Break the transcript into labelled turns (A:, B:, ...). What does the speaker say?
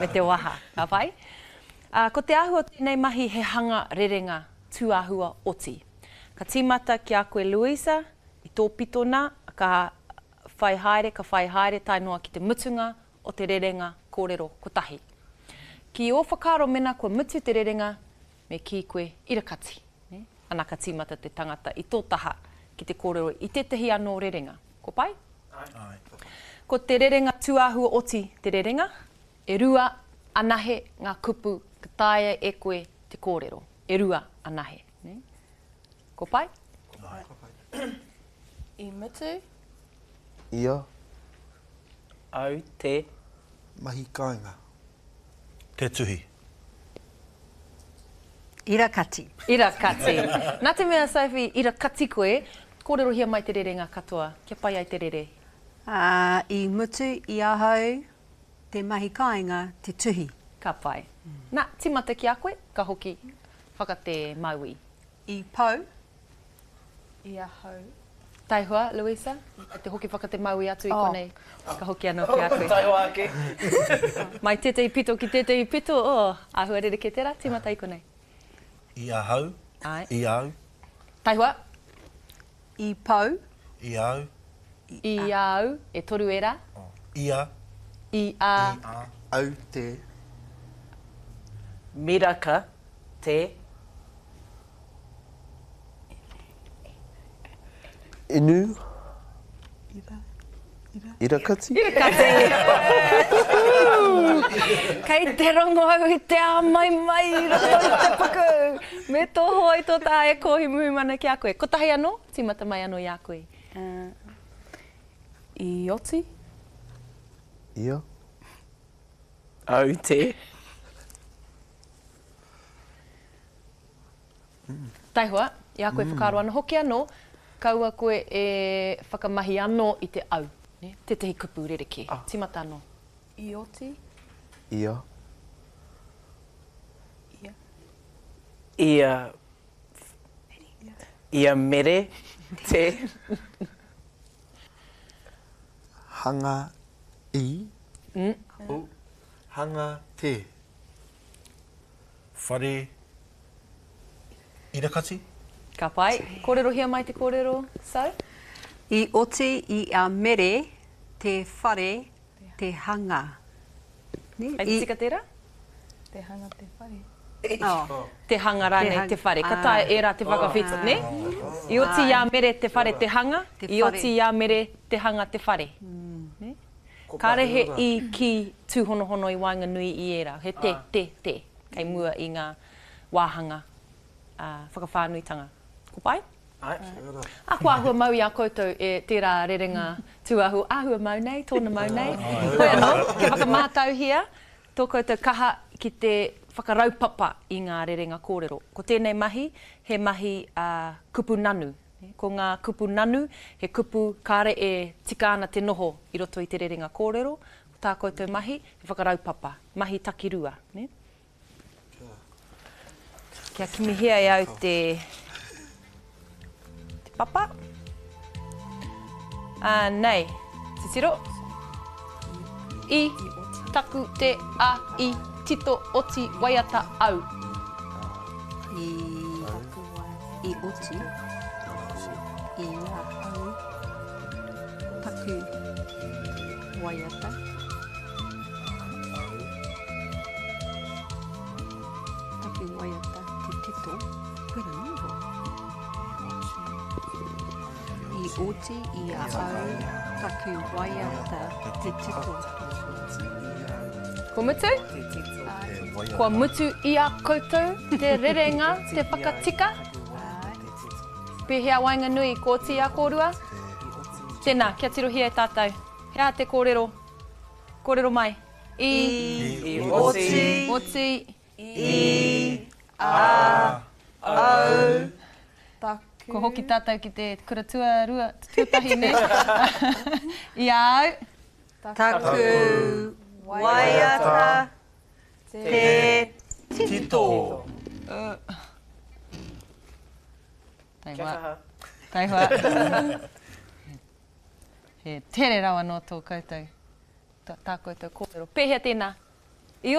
A: Me te waha. Ka pai? Ā, ko te āhua o tēnei mahi he hanga rerenga tūāhua oti. Ka tīmata ki a koe Louisa, i tō pito nā, ka whai haere, ka whai haere tae noa ki te mutunga o te rerenga kōrero kotahi. Ki ō whakaaro mena kua mutu te rerenga, me kī koe irakati, nē? Ana ka tīmata te tangata i tō taha ki te kōrero i tētahi anō rerenga. Ko pai?
B: Āe.
A: Ko te rerenga tūāhua oti te rerenga, e rua anahe ngā kupu ka taea e koe te kōrero. E rua anahe. Nē? Ko pai?
B: Āe.
C: Ko pai.
D: I mutu.
E: Ia.
F: Au te.
C: Mahi kāinga.
B: Te tuhi.
G: Irakati.
A: Irakati. Nā te mea, Sophie, irakati koe, kōrerohia mai te rerenga katoa, kia pai ai te rere.
G: Ā, i mutu i ahau te mahi kāinga te tuhi.
A: Ka pai. Nā, tīmata ki a koe, ka hoki whaka te mauī.
G: I pau.
D: I ahau.
A: Taihoa, Louisa, te hoki whaka te mauī atu i konei, ka hoki anō ki a koe.
F: Taihoa ake.
A: Mai tētahi pito ki tētahi pito, oh, āhua rerekē tērā, tīmata i konei.
B: I ahau.
A: Āe.
B: I au.
A: Taihoa.
G: I pau.
B: I au.
A: I a au, e toru ērā.
B: I a.
A: I a.
B: I a.
C: Au te.
F: Miraka te.
E: Inu. Irakati.
A: Irakati. Kei te rongo au i te āmaimai i roto i te puku. Me tō hoa i tō taha e kōhi muhumana ki a koe. Kotahi anō, tīmata mai anō i a koe.
D: I oti.
E: Ia.
F: Au te.
A: Taihoa, i a koe whakaaro ana hoki anō, kaua koe e whakamahi anō i te au, nē, tētahi kupu rerekē. Tīmata anō.
D: I oti.
E: Ia.
D: Ia.
F: Ia. Ia mere te.
C: Hanga i. Hanga te.
B: Whare Irakati.
A: Ka pai. Kōrerohia mai te kōrero, So?
G: I oti i a Mere te whare te hanga.
A: Kei te tika tērā?
D: Te hanga te whare.
A: Te hanga rānei te whare. Ka taea ērā te whakawhiti, nē? I oti i a Mere te whare te hanga, i oti i a Mere te hanga te whare. Nē? Kāre he i, ki, tūhonohono i waenganui i ērā. He te, te, te kei mua i ngā wāhanga whakawhānuitanga. Ko pai?
F: Āe.
A: Ā, kua āhua mau i a koutou e tērā rerenga tūāhu āhua mau nei, tōna mau nei. Hoi anō, kia whakamātauhia tō koutou kaha ki te whakaraupapa i ngā rerenga kōrero. Ko tēnei mahi, he mahi kupu nanu. Ko ngā kupu nanu, he kupu kāre e tika ana te noho i roto i te rerenga kōrero. Ko tā koutou mahi, he whakaraupapa, mahi takirua, nē? Kia kimihia e au te, te papa. Ā, nei, titiro. I, taku, te, a, i, tito, oti, waiata, au.
G: I, i oti i a au taku waiata. Taku waiata te tito, koira noa iho. I oti i a au taku waiata te tito.
A: Kua mutu? Kua mutu i a koutou te rerenga, te whakatika? Pēhea waenganui, kua oti i a kōrua? Tēnā, kia tirohia e tātou. He aha te kōrero? Kōrero mai. I.
F: I oti.
A: Oti.
F: I. A. Au.
D: Taku.
A: Kua hoki tātou ki te kura tuarua, tuatahi, nē? I a au.
G: Taku waiata te
B: tito.
A: Kia kaha. Taihoa. He tere rawa nō tō koutou, tā koutou kōrero. Pēhea tēnā?